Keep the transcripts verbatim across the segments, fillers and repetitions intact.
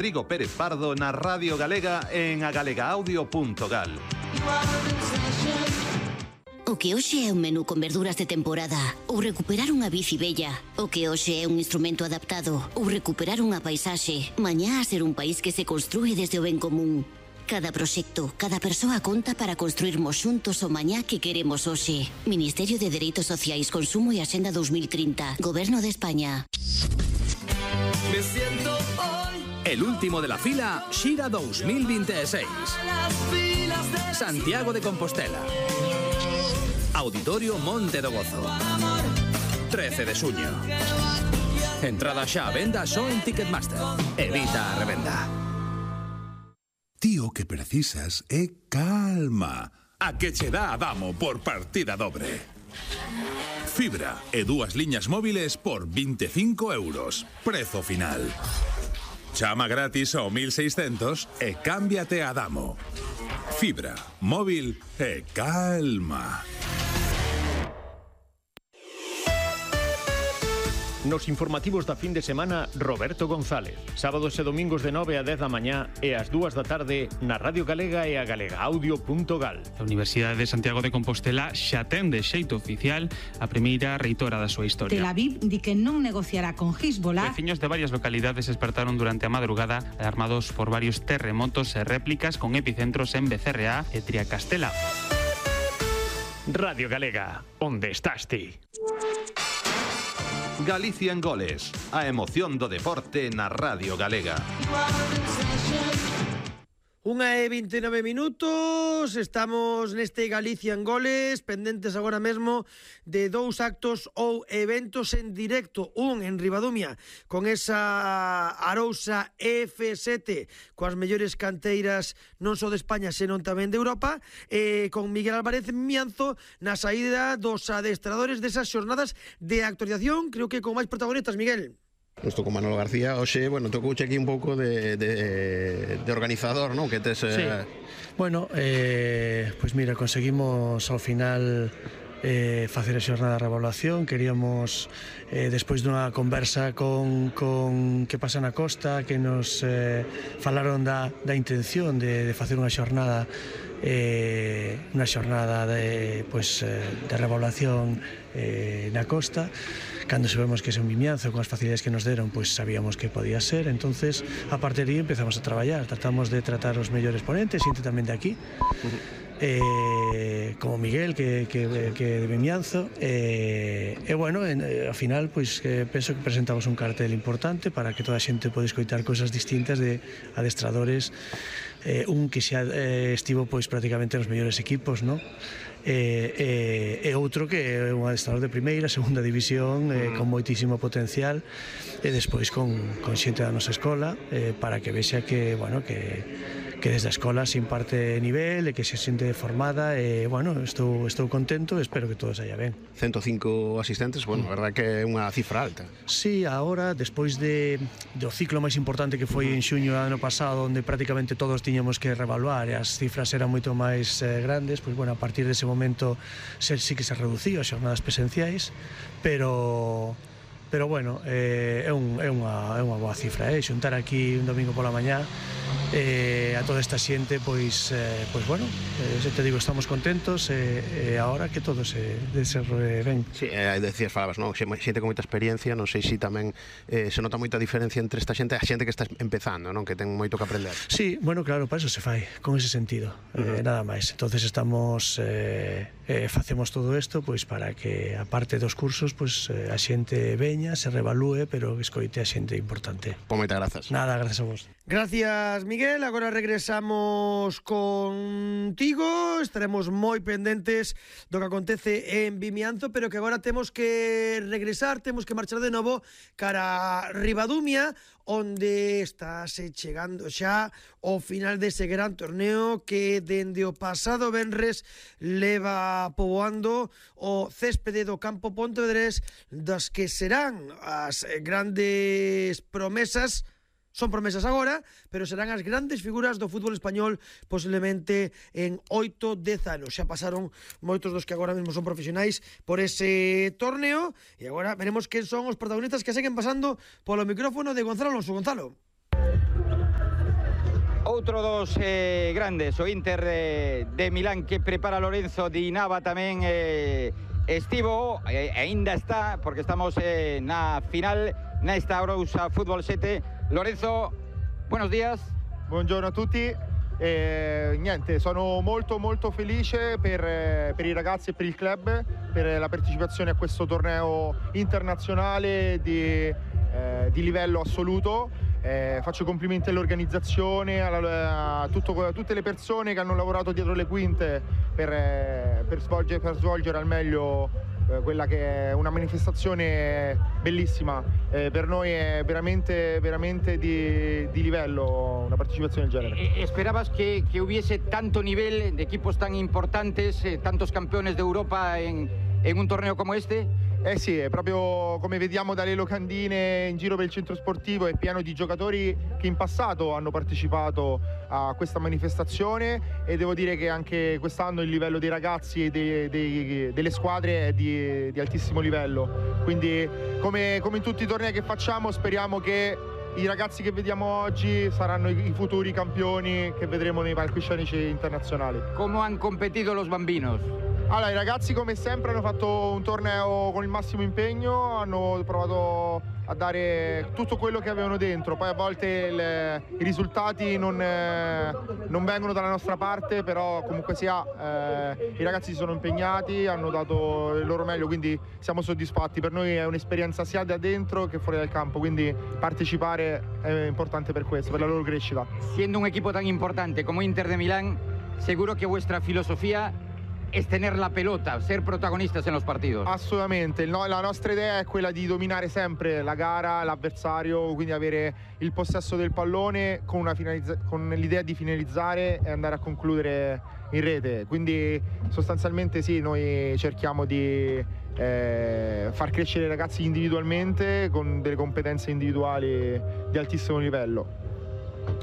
Rodrigo Pérez Pardo na Radio Galega en agalegaaudio punto gal. O que hoxe é un menú con verduras de temporada, ou recuperar unha bici bella. O que hoxe é un instrumento adaptado, ou recuperar unha paisaxe. Mañá a ser un país que se construe desde o ben común. Cada proxecto, cada persoa conta para construirmos xuntos o mañá que queremos hoxe. Ministerio de Dereitos Sociais, Consumo e Axenda dos mil trinta. Goberno de España. Me siento hoy. El último de la fila, Xira dos mil veintiséis. Santiago de Compostela. Auditorio Monte do Gozo. trece de xuño. Entrada xa a venda só en Ticketmaster. Evita a revenda. Tío, que precisas é calma. A que che dá Adamo por partida dobre. Fibra e dúas liñas móviles por vinte e cinco euros. Prezo final. Chama gratis ao mil seiscentos e cámbiate a Adamo. Fibra, móvil e calma. Nos informativos da fin de semana, Roberto González. Sábados e domingos de nove a dez da mañá e ás dúas da tarde na Radio Galega e a galegaaudio punto gal. A Universidade de Santiago de Compostela xa ten de xeito oficial a primeira reitora da súa historia. Tel Aviv di que non negociará con Hezbollah. Veciños de varias localidades despertaron durante a madrugada alarmados por varios terremotos e réplicas con epicentros en Becerreá e Triacastela. Radio Galega, onde estás ti? Galicia en goles, a emoción do deporte na Radio Galega. Unha e vinte e nove minutos, estamos neste Galicia en goles, pendentes agora mesmo de dous actos ou eventos en directo, un en Ribadumia, con esa Arousa F sete, coas mellores canteiras non só de España, senón tamén de Europa, e con Miguel Álvarez en Mianzo na saída dos adestradores desas xornadas de actualización, creo que con máis protagonistas, Miguel. Estou con Manolo García, hoxe, bueno, tocouche aquí un pouco de, de, de organizador, non? Que tes... Eh... Sí, bueno, eh, pois pues mira, conseguimos ao final eh, facer a xornada de revaluación. Queríamos, eh, despois dunha conversa con, con que pasa na costa, que nos eh, falaron da, da intención de, de facer unha xornada eh, unha xornada de, pues, eh, de revaluación eh, na costa. Cando sabemos que é un Vimianzo, con as facilidades que nos deron, pois sabíamos que podía ser. Entonces, a partir de aí empezamos a traballar. Tratamos de tratar os mellores ponentes, xente tamén de aquí, eh, como Miguel, que, que, que de Vimianzo. E, eh, eh, bueno, en, eh, ao final, pois eh, penso que presentamos un cartel importante para que toda a xente pode escoitar cousas distintas de adestradores. Eh, un que xa eh, estivo pois prácticamente nos mellores equipos, non? E, e, e outro que é un adestrador de primeira, segunda división, eh, con moitísimo potencial, e despois con, con xente da nosa escola, eh, para que vexa que, bueno, que que desde a escola se imparte nivel e que se xente formada, e, bueno, estou, estou contento e espero que todo saia ben. cento e cinco asistentes, bueno, a verdade que é unha cifra alta. Sí, agora, despois de, do ciclo máis importante que foi en xuño do ano pasado, onde prácticamente todos tiñamos que revaluar e as cifras eran moito máis eh, grandes, pois, bueno, a partir dese momento se, sí que se reduciu as xornadas presenciais, pero... pero bueno, eh, é, un, é, unha, é unha boa cifra, eh? Xuntar aquí un domingo pola mañá eh, a toda esta xente, pois, eh, pois bueno, eh, se te digo, estamos contentos e eh, eh, agora que todo se desenrole ben. Sí, eh, decías, falabas, non? Xente con moita experiencia, non sei se tamén eh, se nota moita diferencia entre esta xente e a xente que está empezando, non? Que ten moito que aprender. Sí, bueno, claro, para eso se fai, con ese sentido, uh-huh. eh, nada máis. Entonces estamos, eh, eh, facemos todo isto, pois para que, aparte dos cursos, pois eh, a xente veña, se revalúe, pero que escoite a xente importante. Pois moitas grazas. Nada, gracias a vos. Gracias, Miguel. Agora regresamos contigo. Estaremos moi pendentes do que acontece en Vimianzo, pero que agora temos que regresar, temos que marchar de novo cara a Ribadumia, onde estáse chegando xa o final dese gran torneo que dende o pasado venres leva poboando o céspede do campo Pontevedrés, das que serán as grandes promesas. Son promesas agora, pero serán as grandes figuras do fútbol español posiblemente en oito, dez anos. Xa pasaron moitos dos que agora mesmo son profesionais por ese torneo e agora veremos quen son os protagonistas que seguen pasando polo micrófono de Gonzalo Alonso. Gonzalo. outro dos eh, grandes, o Inter de, de Milán, que prepara Lorenzo Di Nava tamén eh, estivo, eh, ainda está, porque estamos eh, na final nesta Arousa Fútbol sette. Lorenzo, buenos días. Buongiorno a tutti. Eh, niente, sono molto molto felice per, per i ragazzi e per il club per la partecipazione a questo torneo internazionale di, eh, di livello assoluto. Eh, faccio complimenti all'organizzazione, a, a, tutto, a tutte le persone che hanno lavorato dietro le quinte per, eh, per, svolgere, per svolgere al meglio eh, quella che è una manifestazione bellissima. Eh, per noi è veramente, veramente di, di livello una partecipazione del genere. ¿Esperabas que, que hubiese tanto nivel de equipos tan importantes, eh, tantos campeones de Europa en, en un torneo como este? Eh sì, è proprio come vediamo dalle locandine in giro per il centro sportivo, è pieno di giocatori che in passato hanno partecipato a questa manifestazione e devo dire che anche quest'anno il livello dei ragazzi e dei, dei, delle squadre è di, di altissimo livello. Quindi come, come in tutti i tornei che facciamo speriamo che i ragazzi che vediamo oggi saranno i, i futuri campioni che vedremo nei palcoscenici internazionali. Come hanno competito los bambinos? Allora, i ragazzi come sempre hanno fatto un torneo con il massimo impegno, hanno provato a dare tutto quello che avevano dentro, poi a volte il, i risultati non, eh, non vengono dalla nostra parte, però comunque sia eh, i ragazzi si sono impegnati, hanno dato il loro meglio, quindi siamo soddisfatti. Per noi è un'esperienza sia da dentro che fuori dal campo, quindi partecipare è importante per questo, per la loro crescita. Siendo un equipo tan importante como Inter de Milán, seguro que vuestra filosofía es tener la pelota, ser protagonistas en los partidos. Assolutamente, no, la nostra idea è quella di dominare sempre la gara, l'avversario, quindi avere il possesso del pallone con, una con l'idea di finalizzare e andare a concludere in rete. Quindi sostanzialmente sì, noi cerchiamo di eh, far crescere i ragazzi individualmente con delle competenze individuali di altissimo livello.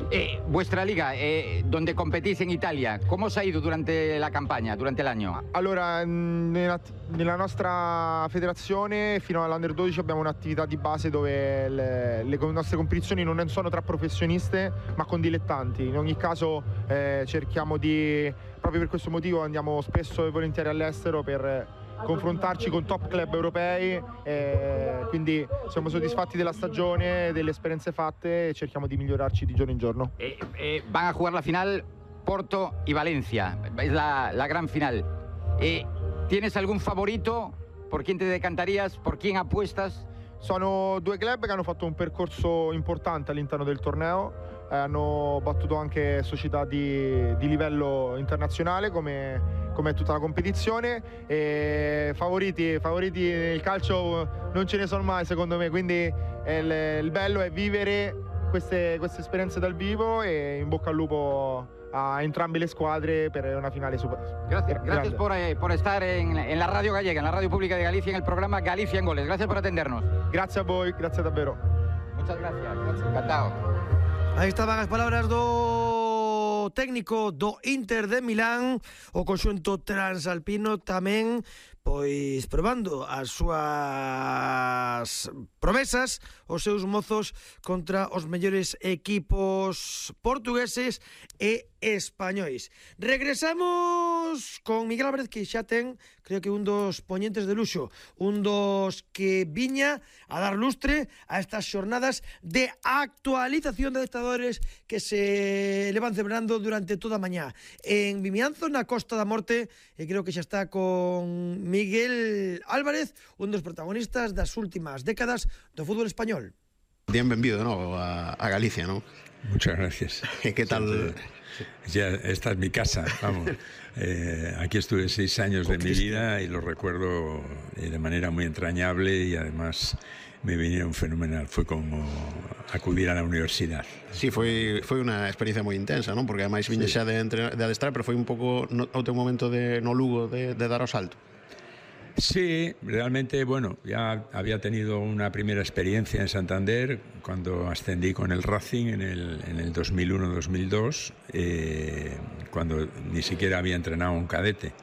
Eh, vuestra liga, eh, donde competís en Italia, ¿cómo os ha ido durante la campagna, durante l'anno? Allora, nella, nella nostra federazione fino all'Under dodici abbiamo un'attività di base dove le, le nostre competizioni non sono tra professioniste ma con dilettanti. In ogni caso eh, cerchiamo di, proprio per questo motivo andiamo spesso e volentieri all'estero per confrontarci con top club europei, eh, quindi siamo soddisfatti della stagione, delle esperienze fatte e cerchiamo di migliorarci di giorno in giorno. Eh, eh, van a jugar la final Porto y Valencia, es la, la gran final. Eh, ¿Tienes algún favorito? ¿Por quién te decantarías? ¿Por quién apuestas? Sono due club che hanno fatto un percorso importante all'interno del torneo, eh, hanno battuto anche società di, di livello internazionale come come tutta la competizione, e favoriti, favoriti nel calcio non ce ne sono mai secondo me, quindi il, il bello è vivere queste, queste esperienze dal vivo e in bocca al lupo a entrambe le squadre per una finale super. Gracias, gracias por, eh, por estar en, en la radio gallega, en la radio pública de Galicia, en el programa Galicia en Goles. Gracias por atendernos. Gracias a voi, gracias davvero. Muchas gracias, gracias. Encantado. Aí estaban as palabras do técnico do Inter de Milán, o conxunto transalpino tamén pois probando as súas promesas, os seus mozos contra os mellores equipos portugueses e españois. Regresamos con Miguel Álvarez, que xa ten, creo que un dos poñentes de luxo, un dos que viña a dar lustre a estas xornadas de actualización de adestradores que se levan celebrando durante toda a mañá en Vimianzo, na Costa da Morte, e creo que xa está con Miguel Álvarez, un dos protagonistas das últimas décadas do fútbol español. Bienvenido, ¿no?, a, a Galicia, ¿no? Muchas gracias. ¿Qué tal? Ya, esta es mi casa, vamos. Eh, aquí estuve seis años de mi vida y lo recuerdo de manera muy entrañable y además me vinieron fenomenal. Fue como acudir a la universidad. Sí, foi, foi unha experiencia moi intensa, non? Porque ademais viña xa de, de adestrar, pero foi un pouco no, o teu momento de, no Lugo de, de dar o salto. Sí, realmente, bueno, ya había tenido una primera experiencia en Santander cuando ascendí con el Racing en el, en el dos mil uno dos mil dos, eh, cuando ni siquiera había entrenado un cadete.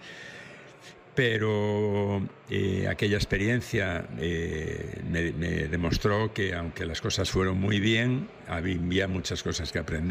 Pero eh, aquella experiencia eh, me, me demostró que aunque las cosas fueron muy bien, había muchas cosas que aprender.